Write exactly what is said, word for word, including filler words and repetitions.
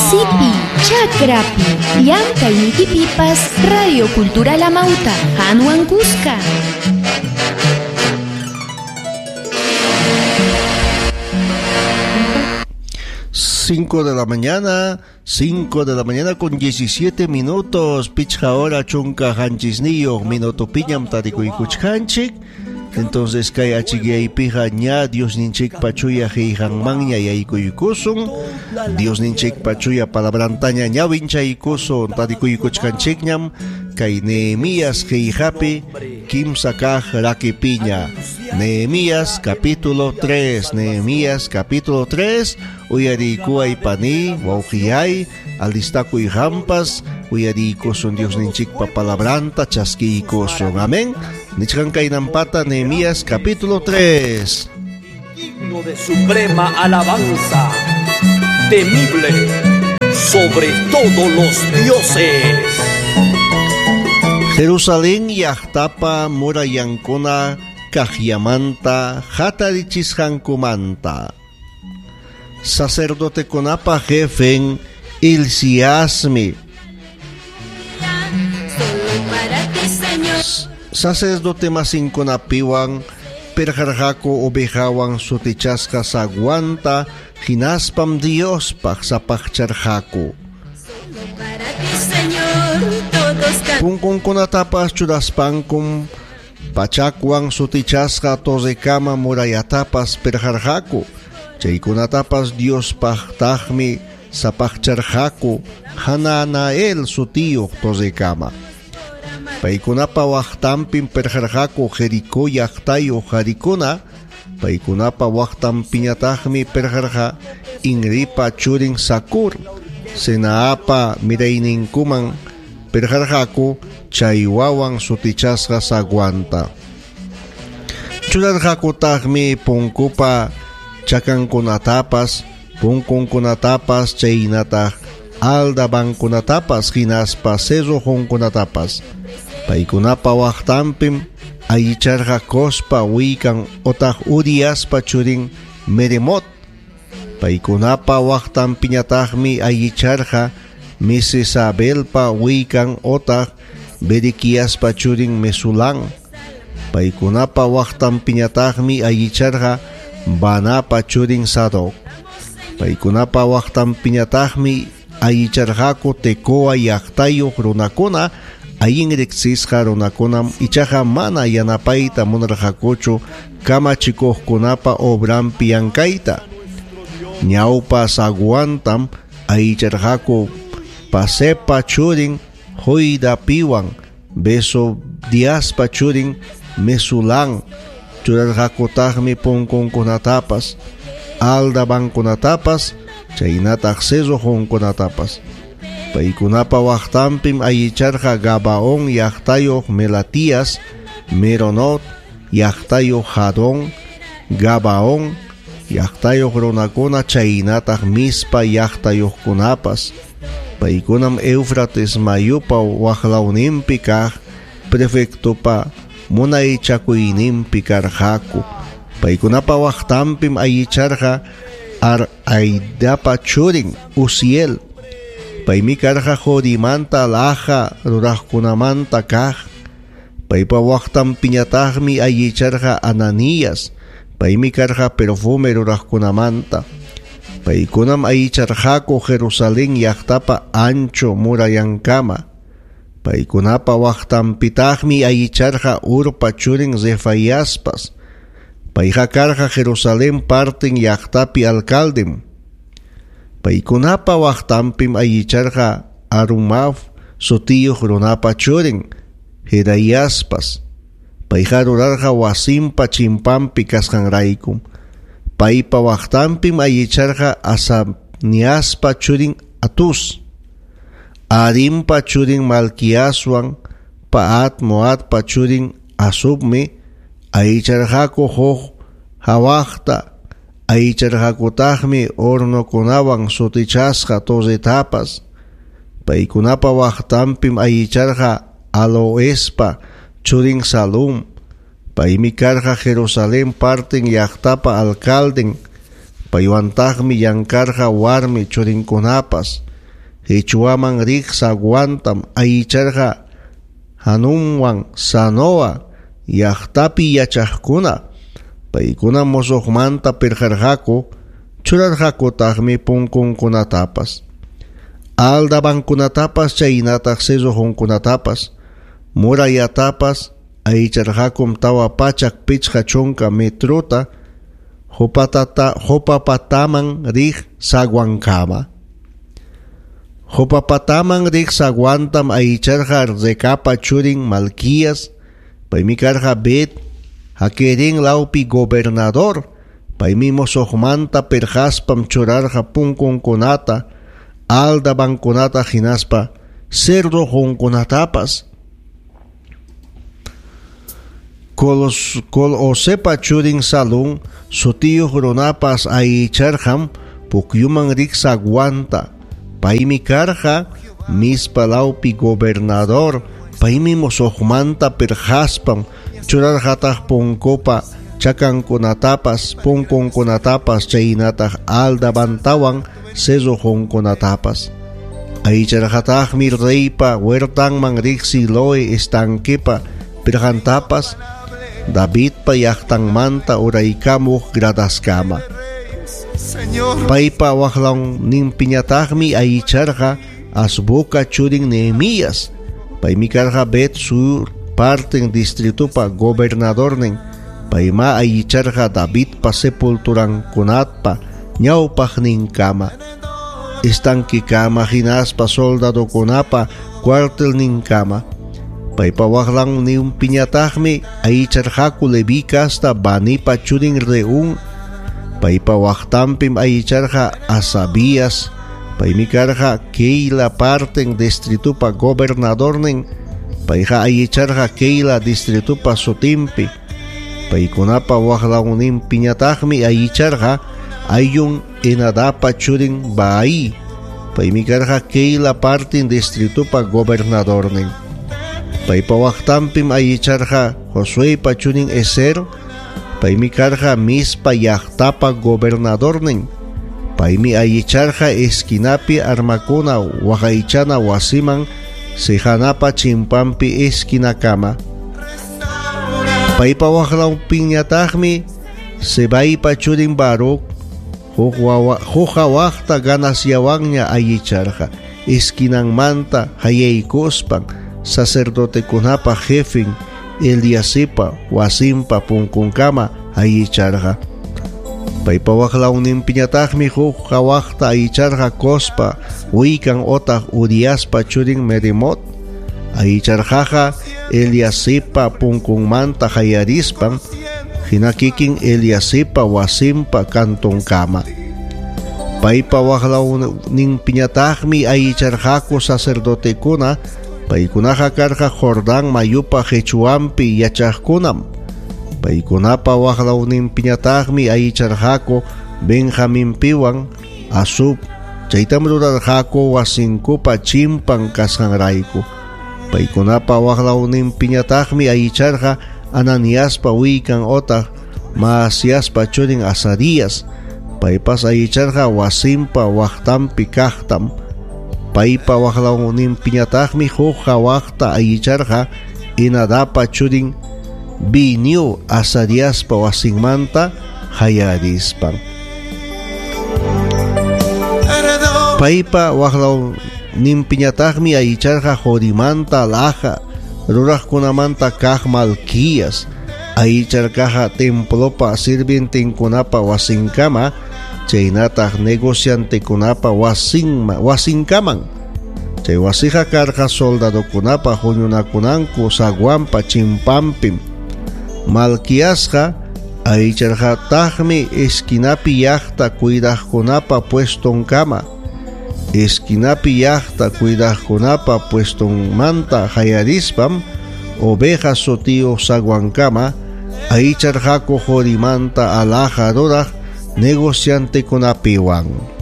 Wasipi, chakrapi, llamkaynikipipas Radio Cultural Amauta, qanwan kuska. Cinco de la mañana, cinco de la mañana con diecisiete minutos, pichqa hora chunka qanchisniyuq minuto piñam tarikuykuchkanchik. Entonces kay achikaypiqa ña Diosninchikpa chuya qillqanmanña yaykuykusun, Diosninchikpa chuya palabrantaña ñawinchaykusun, tarikuykuchkanchikñam kay Nehemías qillqapi kimsa kaq rakipiña. Nehemías capítulo tres, Nehemías capítulo tres, uyarikuay pani, wawqiyay, alistakuy hampas, uyarikusun Diosninchikpa palabranta chaskiykusun. Amén. Nichkan kaynampata Nehemías capítulo tres. Digno de suprema alabanza, temible sobre todos los dioses. Jerusalén llaqtapa murayankuna kaqllamanta hatarichisqankumanta. Sacerdotekunapa jefen Hilciasmi. Sacerdote masinkunapiwan pirqarqaku ovejawan sutichasqa zaguanta hinaspam Diospaq sapaqcharqaku. Punkunkunatapas churaspankum pachakwan sutichasqa torrekama murayatapas pirqarqaku. Chaykunatapas Diospaqtaqmi sapaqcharqaku Hananael sutiyuq torrekama. Paykunapa waqtanpim pirqarqaku Jericó llaqtayuq qarikuna. Paykunapa waqtanpiñataqmi pirqarqa Inripa churin Sakur. Senaapa mirayninkuman pirqarqaku chaywawan sutichasqa zaguanta. Churarqakutaqmi punkupa chakankunatapas, punkunkunatapas, chaynataq aldabankunatapas, hinaspa cerrojunkunatapas. Paykunapa waqtanpim allicharqa Cospa wikan otaq Uriaspa churin Meremot. Paykunapa waqtanpiñataqmi allicharqa Mesesabelpa wikan otaq Berequiaspa churin Mesulán. Paykunapa waqtanpiñataqmi allicharqa Banapa churin Sadoc. Paykunapa waqtanpiñataqmi allicharqaku Tecoa llaqtayuq runakuna, allin riqsisqa runakunam ichaqa mana yanapayta munarqakuchu kamachikuqkunapa obranpi llankayta. Ñawpa zaguantam allicharqaku Pasepa churin Joidapiwan, Besodiaspa churin Mesulán. Churarqakutaqmi punkunkunatapas, aldabankunatapas, chaynataq cerrojunkunatapas. Paykunapa waqtanpim allicharqa Gabaón llaqtayuq Melatías, Meronot llaqtayuq Jadón, Gabaón llaqtayuq runakuna chaynataq Mispa llaqtayuqkunapas. Paykunam Éufrates mayupa waqlawninpi kaq prefectopa munaychakuyninpi karqaku. Paykunapa waqtanpim allicharqa Araidapa churin Uziel. Paymi karqa Jorimanta laja ruraqkunamanta kaq. Paypa waqtanpiñataqmi allicharqa Ananías. Paymi karqa perfume ruraqkunamanta. Paykunam allicharqaku Jerusalén llaqtapa ancho murayankama. Paykunapa waqtanpitaqmi allicharqa Urpa churin Refaiaspas. Payqa karqa Jerusalén partin llaqtapi alcaldem. Paykunapa waqtanpim allicharqa Arumaf sutiyuq runapa churin Jedaiaspas. Payqa rurarqa wasinpa chimpanpi kasqanraykum. Paypa waqtanpim allicharqa Asaniaspa churin Atus. Arimpa churin Malquiaswan Paat Moatpa churin Asubmi allicharqaku huk hawaqta. Allicharqakutaqmi hornokunawan sutichasqa torretapas. Paykunapa waqtanpim allicharqa Aloespa churin Salum. Paymi karqa Jerusalén partin llaqtapa alcalden. Paywantaqmi llankarqa warmi churinkunapas. Hichwaman riq zaguantam ayicharqa Hanunwan Zanoa llaqtapi yachaqkuna. Paykuna musuqmanta pirqarqaku, churarqakutaqmi punkunkunatapas, aldabankunatapas chaynataq cerrojunkunatapas, murallatapas ayicharqakum tawa pachak pichqa chunka metruta Jopatata, Jopapataman riq zaguankama. Jopapataman riq zaguantam ayicharqa Recapa churin Malquías, paymi karqa Bet Hakerin lawpi gobernador, paymi musuqmanta pirqaspam churarqa punkunkunata, aldabankunata hinaspa cerrojunkunatapas. Kolos, Kol-Osepa churin Salún sutiyuq runapas ayicharqam pukyuman riq zaguanta, paymi karqa Mispa lawpi gobernador, paymi musuqmanta pirqaspam churarqataq punkupa chakankunatapas, punkunkunatapas chaynataq aldabantawan cerrojunkunatapas. Ayicharqataqmi reypa huertanman riq Siloe estanquepa pirqantapas, Davidpa llaqtanmanta uraykamuq gradaskama. Paypa waqlawninpiñataqmi ayicharqa Azbuka churin Nehemías, paymi karqa Bet Sur parten distritupa gobernadornin, payma ayicharqa Davidpa sepulturankunatpa ñawpaqninkama, estanquekama hinaspa soldadokunapa cuartelninkama. Paypa waqlawninpiñataqmi ayicharqaku Leví casta Banipa churin Reún, paypa waqtanpim ayicharqa Asabías, paymi karqa Keila parten distritupa gobernadornin, payqa ayicharqa Keila distritupa sutinpi. Paykunapa waqlawninpiñataqmi ayicharqa Ayun Enadapa churin Baai, paymi karqa Keila parten distritupa gobernadornin. Paypa waqtanpim ayicharqa Josuepa churin Ezer, paymi karqa Mispa llaqtapa gobernadornin, paymi ayicharqa esquinapi armakuna waqaychana wasiman Sejanapa chimpanpi esquinakama. Paypa waqlawpiñataqmi Sebaipa churin Baruc huk hawaqta ganasyawanña ayicharqa esquinanmanta hayaykuspan sacerdotekunapa jefin Eliasipa wasinpa punkunkama ayicharqa. Paypa waqlawninpiñataqmi huk hawaqta ayicharqa Cospa wikan otaq Uriaspa churin Meremot, ayicharqaqa Eliasipa punkunmanta hayarispan hina kikin Eliasipa wasinpa kantunkama. Paypa waqlawninpiñataqmi ayicharqaku sacerdotekuna, paykunaqa karqa Jordán mayupa qichwanpi yachaqkunam. Paykunapa waqlawninpiñataqmi ayicharqaku Benjaminpiwan Asub, chaytam rurarqaku wasinkupa chimpan kasqanrayku. Paykunapa waqlawninpiñataqmi ayicharqa Ananiaspa wikan otaq Maasiaspa churin Azarías, paypas ayicharqa wasinpa waqtanpi kaqtam. Paypa waqlawninpiñataqmi huk hawaqta ayicharqa Enadapa churin Biniu Azariaspa wasinmanta hayarispan. Paypa waqlawninpiñataqmi ayicharqa Jorimanta laja ruraqkunamanta kaq Malquías, ayicharqaqa templopa sirvientenkunapa wasinkama chaynataq negociantekunapa wasinma wasinkaman. Chay wasiqa karqa soldadokunapa huñunakunanku zaguanpa chimpanpim. Malquiasqa ayicharqataqmi esquinapi llaqta cuidaqkunapa puestonkama. Esquinapi llaqta cuidaqkunapa puestonmanta hayarispam oveja sutiyuq zaguankama ayicharqaku Jorimanta alhaja ruraq negociantekunapiwan.